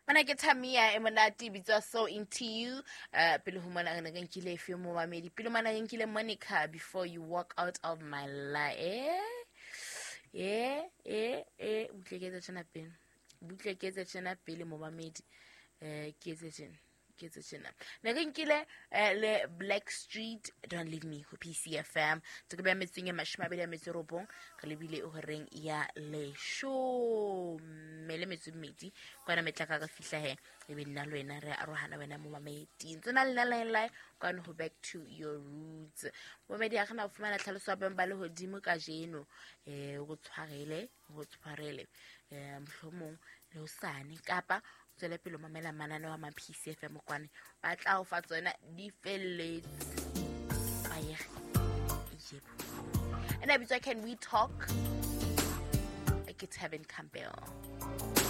Mana ke Tamia e monate e bitswa So Into You. Pele ho mona re ne re nkile efe momamedi? Pele mona re nkile Monica, Before You Walk Out of My Life. Butle ke etse tjena pele. Butle ke etse tjena pele momamedi. Ke etse tjena. Ke etse tjena. Ne re nkile le Black Street, Don't Leave Me ho PCFM. Tse ke beha metseng e 29, re lebile horeng ya 18 le metso e mmedi. Kwana metlaka re fihla he e be nna le wena re arohana wena momamedi. Ntse na le nna line kwana ho Back to Your Roots. Momamedi, ha re na ho fumana tlhaloso ya boemo ba lehodimo kajeno. Go tshwarele, go tshwarele. Mohlomong le hosane kapa o tswele pele ho mamela mananeo a ma PCFM kwane ba tla o fa tsona di felletse. Bayege. Yebo. Ena bitswa Can We Talk? Ke Tevin Campbell.